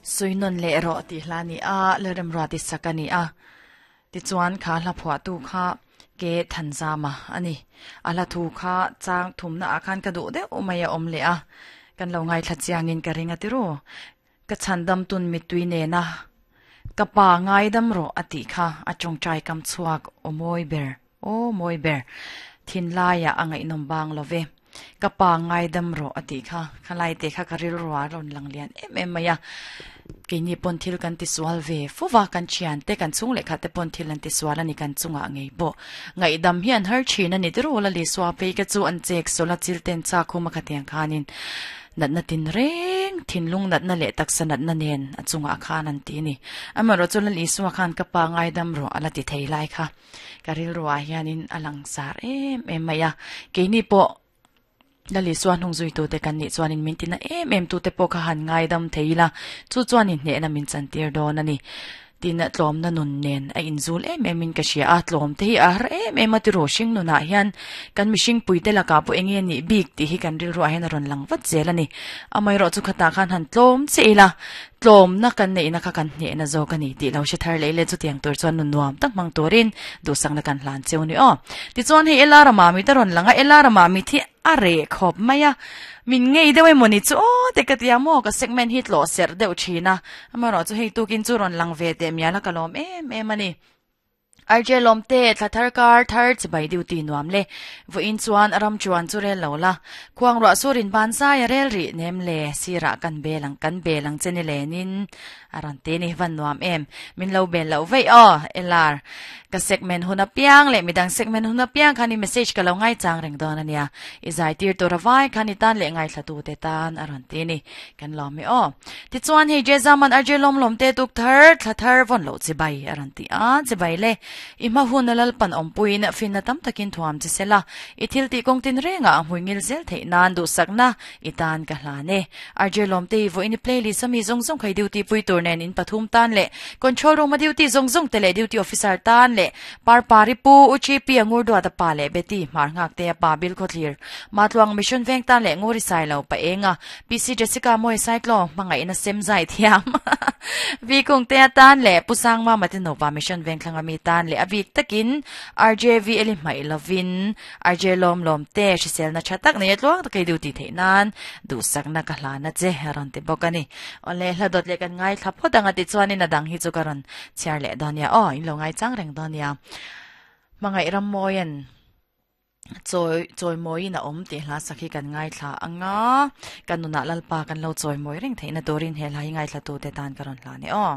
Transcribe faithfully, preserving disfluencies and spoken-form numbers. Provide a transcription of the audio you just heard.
Suinon le ro ti hla ni a lerem ro ti sakani a ti chuan kha hla phua tu kha ke thanzama ani ala thu kha chang thumna akhan ka du de umaya om le a kan lo ngai thla chiangin ka ringa ti ro ka chandam tun mitui ne na ka pa ngai dam ro ati kha achong chai kam chuak o moi ber o moi ber thin laia angai nom bang love ka pa ngai dam ro ati kha khalai te kha karil ro ron lang lian em em maya kini pon thil kan ti sual ve fuwa kan chian te kan chung le kha te pon thil an ti sual ani kan chunga ngei bo ngai dam hian har thina ni tiro la li swa pe ka chu an chek sola chil ten cha khuma kha tiang khanin nat na tin reng thin lung nat na le tak sa nat na nen achunga khan an ti ni amaro chu la li suwa khan ka pa ngai dam ro ala ti thei lai kha karil ro a hianin alang sar em em maya kini po lali suan hung zui tu te kan ni chuanin min tina em em tu te pawh kha han ngai dam theila chu chuanin hne na min chan tir dawn ani tin tlawm na nun nen a inzul em em in ka hria a tlawm te hi a har em em a ti ro hring nunah hian kan mihring pui te laka pawh enge ni bik tih hi kan rilru ah hian a rawn lang vat zel ani amai rawh chu khata khan han tlawm che ila tlawm na kan nei na kha kan hne na zawk ani tih lo hre thar leh le chu tiang tur chuan nun nuam tak hmang turin duhsak na kan hlan cheu ni aw tichuan hei ela rama mi te rawn lang a ela rama mi thi a re khawp mai a min ngei deuh emawni chu aw te ka tia maw ka segment hi tlaw serh deuh thina amarawh chu hei tukin chu rawn lang ve teh mial a ka lawm em em ani R J lawm te thla thar kar thar chibai duty nuam le vawiin chuan a ram chuan chu rel lo la khuang ruah surin ban zai a rel rih nem le sirah kan belang kan belang che ni lenin a rawn te ni van nuam em min lo bel loh veih aw L R ka segment hun apiang le midang segment hun apiang khan i message ka lo ngai chang reng dawn ania i zai tir tur avai khan i tan leh ngai thla tu te tan a rawn ti ni kan lawm hi aw tichuan hei J Zaman R J lawm lawm te tuk thar thla thar vawn loh chibai a rawn ti a chibai le i hma hun a lalpan awmpuiin finna tam takin thuam chi sela i thil tih kawng tin rengah a hmui ngil zel theih nan duhsakna i tan ka hlan e R J lawm te i vawiin i playlist ami zawng zawng khai duty pui tur nen in pathum tan leh control room a duty zawng zawng te leh duty officer tan leh par pari pu U G P angur duat a pa leh Betty hmar nghak te a pa bil khawthlir Matluang mission veng tan leh nguri sai lo pa enga P C Jessica Mawi Saitlaw hmangaihna sem zai thiam V Kung te atan leh Pu Sangma Mate Nupa mission veng thlanga mi tan leh a bik takin R J V Eli hmaih lovin R J Lawm Lawm te hriselna tha tak nei a tluang tak ei duty theih nan duhsakna ka hlana che a rawn ti bawk a ni. Awle hla dawt leh kan ngai thla phawt ang a tichuanin a dang hi chu ka rawn chhiar leh dawn nia aw in lo ngai chang reng dawn nia. Hmangaih ram mawian chawi chawi mawiin a awm tih hla sak hi kan ngai thla anga kan nunah lalpa kan lo chawi mawi reng theihna turin he hla hi ngai thla tu te tan ka rawn hla ni aw.